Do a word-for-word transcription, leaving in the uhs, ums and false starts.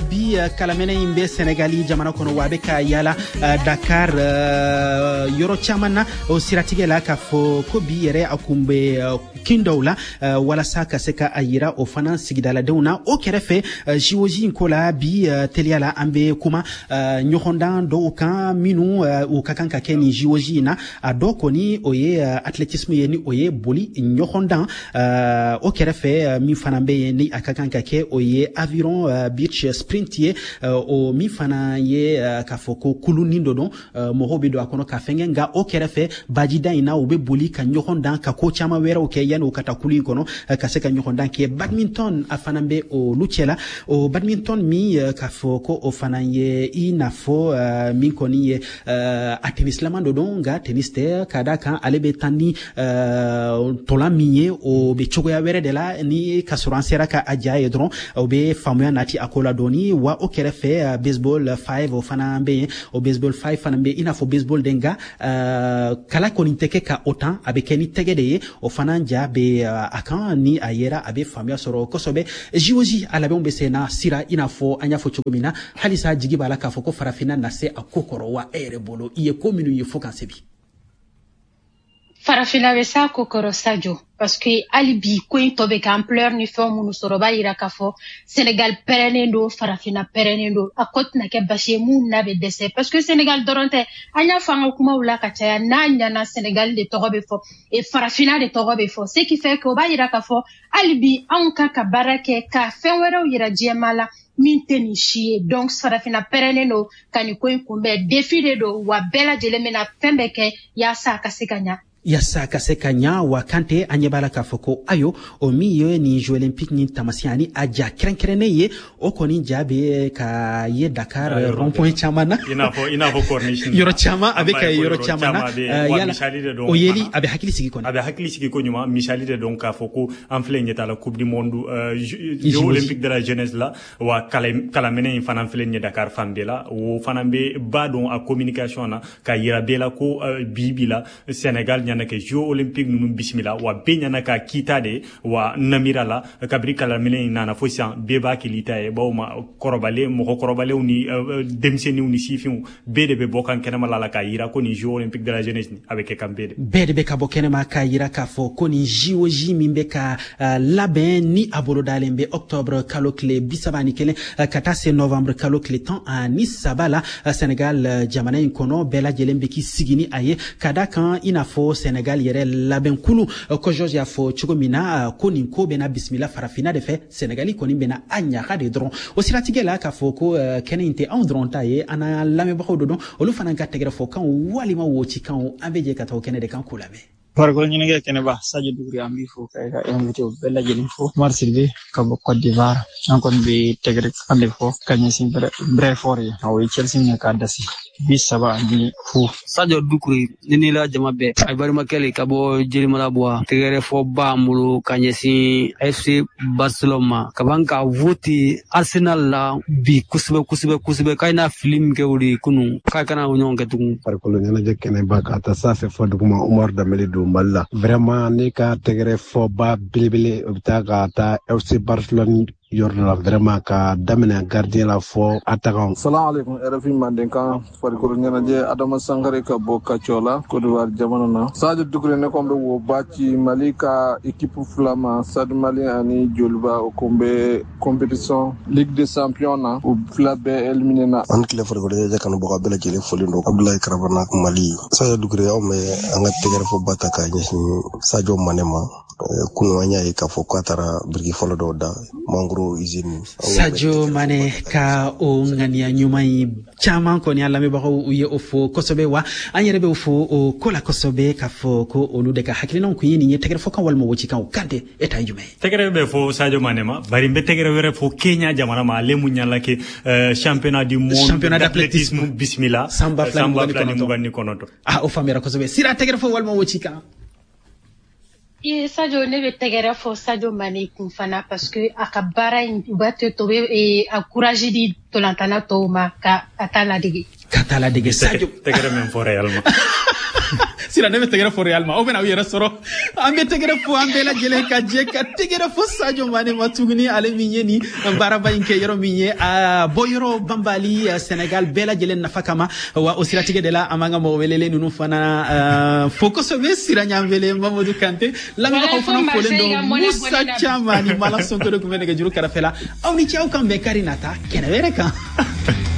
Bi kalamɛnɛ in bɛ Senegali jamana kɔnɔ, wa a bɛ ka yala Dakar yɔrɔ caman na. O siratigɛ la, k'a fɔ ko bi yɛrɛ a kun bɛ kin dɔw la walasa ka se ka a yira o fana sigidaladenw na. O kɛrɛfɛ, J O J in ko la, bi teliya la, an bɛ kuma ɲɔgɔndan dɔw kan minnu u ka kan ka kɛ nin J O J in na. A dɔ kɔni, o ye athlétisme ye, ni o ye boli ɲɔgɔndan. O kɛrɛfɛ, min fana bɛ yen ni a ka kan ka kɛ, o ye aviron beach sprint ye, o min fana ye k'a fɔ ko kulunin dɔ don, mɔgɔw bɛ don a kɔnɔ ka fɛnkɛ. Nka o kɛrɛfɛ, bajida in na, u bɛ boli ka ɲɔgɔn dan, ka ko caman wɛrɛw kɛ yanni u ka taa kulu in kɔnɔ ka se ka ɲɔgɔn dan kɛ. Badminton, a fana bɛ olu cɛla. O badminton min, k'a fɔ ko o fana ye i n'a fɔ min kɔni ye a tennisilama dɔ don, nka tennis tɛ, ka da kan ale bɛ taa ni tɔlan min ye, o bɛ cogoya wɛrɛ de la. Ni ka sɔrɔ an sera ka a ja ye dɔrɔn, o bɛ faamuya nati a ko la dɔɔni. Wa o kɛrɛfɛ, baseball five, o fana bɛ yen. O baseball five fana bɛ i n'a fɔ baseball de, nka kala kɔni tɛ kɛ ka o tan, a bɛ kɛ ni tɛgɛ de ye. O fana ja bɛ a kan, ni a yera, a bɛ faamuya sɔrɔ kosɛbɛ. J O J a labɛnw bɛ sen na sira, i n'a fɔ an y'a fɔ cogo min na, halisa jigi b'a la k'a fɔ ko farafinna na se a ko kɔrɔ wa? E yɛrɛ bolo, i ye ko minnu ye fo kan se bi? Farafinna bɛ s'a ko kɔrɔ, Sajo, parce que hali bi ko in tɔ bɛ kɛ ampleur ni fɛn minnu sɔrɔ, o b'a yira k'a fɔ Sénégal pɛrɛnnen don, farafinna pɛrɛnnen don. A ko tɛna kɛ basi ye mun n'a bɛ dɛsɛ, parce que Sénégal dɔrɔn tɛ. An y'a fɔ an ka kumaw la ka caya, n'a ɲɛna, Sénégal de tɔgɔ bɛ fɔ et farafinna de tɔgɔ bɛ fɔ, ce qui fait que o b'a yira k'a fɔ hali bi anw kan ka baara kɛ ka fɛn wɛrɛw yira diɲɛmaa la min tɛ nin si ye. Donc farafinna pɛrɛnnen don ka nin ko in kunbɛn. Défi de don, wa bɛɛ lajɛlen bɛna fɛn bɛɛ kɛ yaasa a ka se ka ɲa. Yaasa ka se ka ɲa. Wa Kante, an ɲɛ b'a la k'a fɔ ko ayo, o min ye nin Jeux olympique ni tamasiyɛn ani a ja kɛrɛnkɛrɛnnen ye, o kɔni ja bɛ ka ye Dakar rond point caman na. I n'a fɔ i n'a fɔ corniche. Yɔrɔ caman a bɛ ka ye, yɔrɔ caman na. Wa misali de don. O yeli a bɛ hakili sigi kɔni. A bɛ hakili sigi ko ɲuman. Misali de don k'a fɔ ko an filɛ ɲɛ t'a la Coupe du monde, Jeux olympiques de la jeunesse la. Wa kalaminɛ in fana filɛ ɲɛ Dakar fan bɛɛ la. O fana bɛ ba don a communication na ka yira bɛɛ la ko bi bi la, Sénégal ɲana kɛ Jeux olympiques ninnu bisimila, wa bɛɛ ɲana ka kita de wa namira la. Kabiri kalaminɛ in nana fo sisan, bɛɛ b'a kɛ ta ye, bawo ma kɔrɔbalen, mɔgɔ kɔrɔbalenw ni denmisɛnninw ni sifinw, bɛɛ de bɛ bɔ kan kɛnɛma la la k'a yira ko nin Jeux olympiques de la jeunesse a bɛ kɛ kan bɛɛ de. Bɛɛ de bɛ ka bɔ kɛnɛma k'a yira k'a fɔ ko nin J O J min bɛ ka labɛn, ni a bolodalen bɛ octobre kalo tile bi saba ni kelen ka taa se novembre kalo tile tan ani saba la Senegal jamana in kɔnɔ, bɛɛ lajɛlen bɛ k'i sigi ni a ye, ka da kan i n'a fɔ Senegal yɛrɛ labɛnkulu ko George y'a fɔ cogo min na, ko nin ko bɛna bisimila farafinna de fɛ, Senegali kɔni bɛna a ɲaga de dɔrɔn. O siratigɛ la, k'a fɔ ko kɛnɛ in tɛ anw dɔrɔn ta ye, an n'an lamɛnbagaw de don, olu fana ka tɛgɛrɛ fɔ kanw walima wocikanw, an bɛ jɛ ka taa o kɛnɛ de kan k'u lamɛn. Farikolo ɲɛnajɛ kɛnɛba, Sadio Dugure, an b'i fo ka i ka invité bɛɛ lajɛlen fo. Umar Sidibe ka bɔ Côte d'Ivoire. An kɔni bɛ tɛgɛrɛ kan de fɔ ka ɲɛsin Brentford ye, o ye Chelsea minɛ k'a dasi bi saba ani fu. Sadio Dukure ni ni la jama bɛɛ, a balimakɛ le ka bɔ Jelimala Buwa. Tɛgɛrɛ fɔ b'an bolo ka ɲɛsin F C Barcelone ma ka ban ka vote Arsenal la bi kosɛbɛ kosɛbɛ kosɛbɛ, k'a n'a fili min kɛ o de ye kunun, k'a kana o ɲɔgɔn kɛ tugun. Farikolo ɲɛnajɛ kɛnɛba, ka taa sanfɛ fɔ duguma, Umar Danbele don Mali la. Vraiment, ne ka tɛgɛrɛ fɔba belebele, o bɛ taa ka taa F C Barcelone yɔrɔ dɔ la, vraiment, ka daminɛ gardien la fɔ attaquant. Salam alaikum, R F I Mandenkan, farikolo ɲɛnajɛ, Adama Sangare ka bɔ Kacɔ Côte d'Ivoire jamana na. Sadio Dukure, ne kɔni bɛ wo ba ci Mali ka équipe fila ma, Stade Malien ani Joliba. O kun bɛ compétition Ligue des Champions na, u fila bɛɛ éliminé na. An tile farikolo ɲɛnajɛ kanubaga bɛɛ lajɛlen fɔlen don. Abdoulaye Karabana, Mali. Sadio Dukure, anw bɛ an ka tɛgɛrɛ fɔ ba ta k'a ɲɛsin Sadio Mane ma. Kunun an y'a ye k'a fɔ k'a taara biriki fɔlɔ dɔw da mangoro usine. Sadio Mane ka o ŋaniya ɲuman in caman kɔni, an lamɛnbagaw u ye o fo kosɛbɛ, wa an yɛrɛ bɛ fo o ko la kosɛbɛ, k'a fɔ ko olu de ka hakilinaw kun ye nin ye. Tɛgɛrɛ fɔ kan walima wocikanw, Kante, e ta ye jumɛn ye? Tɛgɛrɛ bɛ fɔ Sadio Mane ma, bari n bɛ tɛgɛrɛ wɛrɛ fɔ Kenya jamana ma, ale mun ɲala kɛ championnat du monde championnat d'athlétisme bisimila san ba fila ni mugan ni kɔnɔntɔn. Ah, o faamuyara kosɛbɛ. Sira, tɛgɛrɛ fɔ walima wocikan? Ye Sadio, ne bɛ tɛgɛrɛ fɔ Sadio Mane kun fana, parce que a ka baara in, u b'a to bɛ a courage di tolantana tɔw ma ka ka taa ladege. Ka taa ladege, Sadio. Tɛgɛrɛ min fɔ Real ma. Sira, ne bɛ tɛgɛrɛ fɔ Real ma, aw bɛna aw yɛrɛ sɔrɔ. An bɛ tɛgɛrɛ fɔ an bɛɛ lajɛlen ka jɛ ka tɛgɛrɛ fɔ Sadio Mane ma tuguni, ale min ye nin baaraba in kɛ yɔrɔ min ye a bɔ yɔrɔ banbali Sénégal bɛɛ lajɛlen nafa kama. Wa o siratigɛ de la, an b'an ka mɔgɔ welelen ninnu fana fo kosɛbɛ. Sira Ɲanbele, Mamadu Kante, lamɛnbagaw fana folen don. Musa Caman ni Malam Sonko de tun bɛ nɛgɛjuru kɛrɛfɛ la. Aw ni ce, aw kan bɛn kari nata kɛnɛ wɛrɛ kan.